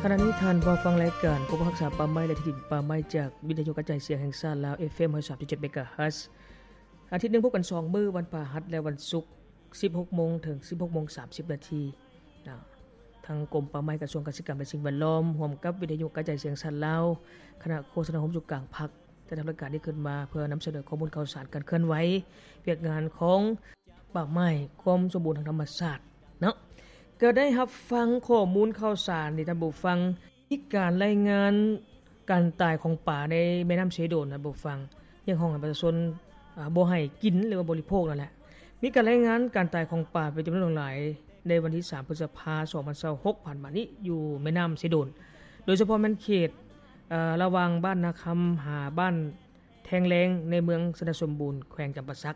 ຂະນະນີ້ທ່ານເຝົ້າຟັງລາຍການ ກອມຮັກສາປ່າໄມ້ ແລະ ທີ່ດິນປ່າໄມ້ ຈາກວິທະຍຸກະຈາຍສຽງແຫ່ງຊາດລາວ ເອຟເອັມຮ້ອຍສາມຈຸດເຈັດ ເມກາເຮີດ. ອາທິດໜຶ່ງພົບກັນສອງມື້, ວັນພະຫັດ ແລະ ວັນສຸກ, ສິບຫົກໂມງ ເຖິງ ສິບຫົກໂມງ ສາມສິບນາທີ. ນະ, ທາງກົມປ່າໄມ້, ກະຊວງກະສິກຳ ແລະ ສິ່ງແວດລ້ອມ ຮ່ວມກັບວິທະຍຸກະຈາຍສຽງຊາດລາວ, ຄະນະໂຄສະນາໂຮມສຸກກາງພັກ ຈັດທຳລາຍການນີ້ຂຶ້ນມາ ເພື່ອນຳສະເໜີຂໍ້ມູນຂ່າວສານການເຄື່ອນໄຫວວຽກງານຂອງປ່າໄມ້, ຄວາມສົມບູນທາງທຳມະຊາດເນາະ. ກໍໄດ້ຮັບຟັງຂໍ້ມູນຂ່າວສານນີ້ທ່ານຜູ້ຟັງ, ມີການລາຍງານການຕາຍຂອງປາໃນແມ່ນ້ຳເຊໂດນ, ທ່ານຜູ້ຟັງ, ຮຽກຮ້ອງໃຫ້ປະຊາຊົນ, ອາ, ບໍ່ໃຫ້ກິນ ຫຼືວ່າບໍລິໂພກນັ້ນແຫຼະ. ມີການລາຍງານການຕາຍຂອງປາເປັນຈຳນວນຫຼວງຫຼາຍ ໃນວັນທີສາມ ພຶດສະພາ ສອງພັນຊາວຫົກ ຜ່ານມານີ້ ຢູ່ແມ່ນ້ຳເຊໂດນ, ໂດຍສະເພາະແມ່ນເຂດ, ເອີ, ລະຫວ່າງບ້ານນາຄຳ ຫາບ້ານແທງແລງ ໃນເມືອງຊະນະສົມບູນ ແຂວງຈຳປາສັກ.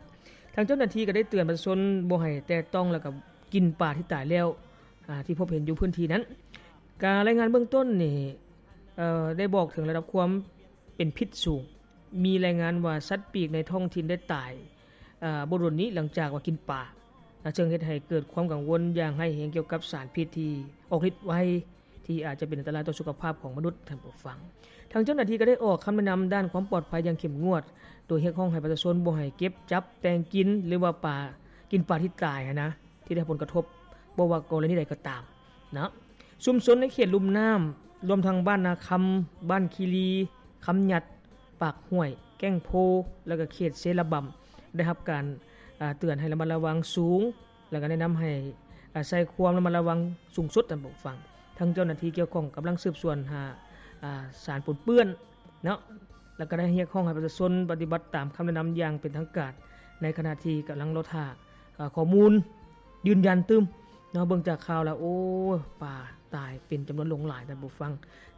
ທາງເຈົ້າໜ້າທີ່ກໍໄດ້ເຕືອນປະຊາຊົນບໍ່ໃຫ້ແຕະຕ້ອງ ແລ້ວກໍກິນປາທີ່ຕາຍແລ້ວ, ອາ, ທີ່ພົບເຫັນຢູ່ພື້ນທີ່ນັ້ນ. ການລາຍງານເບື້ອງຕົ້ນນີ້, ເອີ, ໄດ້ບອກເຖິງລະດັບຄວາມເປັນພິດສູງ. ມີລາຍງານວ່າສັດປີກໃນທ້ອງຖິ່ນໄດ້ຕາຍ, ເອີ, ບໍ່ດົນນີ້ຫຼັງຈາກວ່າກິນປາ, ເຊິ່ງເຮັດໃຫ້ເກີດຄວາມກັງວົນຢ່າງຮ້າຍແຮງກ່ຽວກັບສານພິດທີ່ອອກລິດໄວ, ທີ່ອາດຈະເປັນອັນຕະລາຍຕໍ່ສຸຂະພາບຂອງມະນຸດ, ທ່ານຜູ້ຟັງ. ທາງເຈົ້າໜ້າທີ່ກໍໄດ້ອອກຄຳແນະນຳດ້ານຄວາມປອດໄພຢ່າງເຂັ້ມງວດ, ໂດຍຮຽກຮ້ອງໃຫ້ປະຊາຊົນບໍ່ໃຫ້ເກັບ, ຈັບ, ແຕ່ງກິນ ຫຼືວ່າປາ, ກິນປາທີ່ຕາຍຫັ້ນນະ, ທີ່ໄດ້ຮັບຜົນກະທົບ, ບໍ່ວ່າກໍລະນີໃດກໍຕາມ. ນະ, ຊຸມຊົນໃນເຂດລຸ່ມນ້ຳ ລວມທັງບ້ານນາຄຳ, ບ້ານຄີລີ, ຄຳຫຍັດ, ປາກຫ້ວຍ, ແກ້ງໂພ ແລ້ວກໍເຂດເຊລະບຳ ໄດ້ຮັບການ, ອາ, ເຕືອນໃຫ້ລະມັດລະວັງສູງ ແລ້ວກໍແນະນຳໃຫ້, ອາ, ໃຊ້ຄວາມລະມັດລະວັງສູງສຸດ, ທ່ານຜູ້ຟັງ. ທາງເຈົ້າໜ້າທີ່ກ່ຽວຂ້ອງກຳລັງສືບສວນຫາ, ອາ, ສານປົນເປື້ອນເນາະ, ແລ້ວກໍໄດ້ຮຽກຮ້ອງໃຫ້ປະຊາຊົນປະຕິບັດຕາມຄຳແນະນຳຢ່າງເປັນທາງການ ໃນຂະນະທີ່ກຳລັງລໍຖ້າ, ອາ, ຂໍ້ມູນ ຢືນຢັນຕື່ມເນາະ. ເບິ່ງຈາກຂ່າວແລ້ວ ໂອ້ ປາຕາຍເປັນຈຳນວນຫຼວງຫຼາຍ, ທ່ານຜູ້ຟັງ.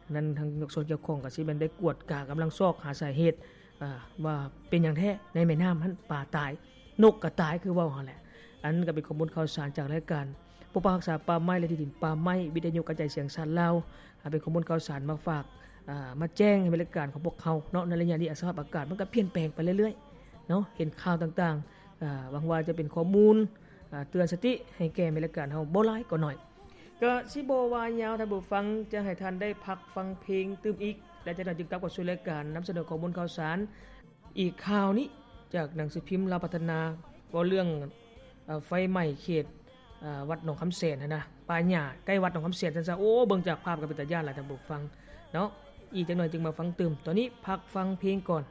ດັ່ງນັ້ນທາງພາກສ່ວນກ່ຽວຂ້ອງກໍຊິແມ່ນໄດ້ກວດກາ, ກຳລັງຊອກຫາສາເຫດ, ອາ, ວ່າເປັນຫຍັງແທ້ໃນແມ່ນ້ຳຫັ້ນປາຕາຍ, ນົກກໍຕາຍ ຄືເວົ້າຫັ້ນແຫຼະ. ອັນນັ້ນກໍເປັນຂໍ້ມູນຂ່າວສານຈາກລາຍການປົກປັກຮັກສາປ່າໄມ້ ແລະ ທີ່ດິນປ່າໄມ້ ວິທະຍຸກະຈາຍສຽງຊາດລາວ, ອາ, ເປັນຂໍ້ມູນຂ່າວສານມາຝາກ, ອາ, ມາແຈ້ງໃຫ້ແມ່ນລາຍການຂອງພວກເຮົາເນາະ. ໃນໄລຍະນີ້ ສະພາບອາກາດມັນກໍປ່ຽນແປງໄປເລື້ອຍໆເນາະ, ເຫັນຂ່າວຕ່າງໆ ອາ, ຫວັງວ່າຈະເປັນຂໍ້ມູນ, ອາ, ເຕືອນສະຕິໃຫ້ແກ່ແມ່ນລາຍການເຮົາ ບໍ່ຫຼາຍກໍໜ້ອຍ. ກໍຊິບໍ່ວ່າຍາວ, ທ່ານຜູ້ຟັງ, ຈະໃຫ້ທ່ານໄດ້ພັກຟັງເພງຕື່ມອີກ, ແລະ ຈາກນັ້ນຈຶ່ງກັບເຂົ້າສູ່ລາຍການນຳສະເໜີຂໍ້ມູນຂ່າວສານ. ອີກຂ່າວນີ້ຈາກໜັງສືພິມລາວພັດທະນາ, ເວົ້າເລື່ອງ, ເອ່ອ, ໄຟໄໝ້ເຂດ, ເອ່ອ, ວັດໜອງຄຳແສນຫັ້ນນະ, ປ່າຫຍ້າໃກ້ວັດໜອງຄຳແສນຊັ້ນຊະ. ໂອ້, ເບິ່ງຈາກພາບກໍເປັນຕາຢ້ານຫຼາຍ, ທ່ານຜູ້ຟັງເນາະ. ອີກຈັກໜ້ອຍຈຶ່ງມາຟັງຕື່ມ. ຕອນນີ້ພັກຟັງເພງກ່ອນ.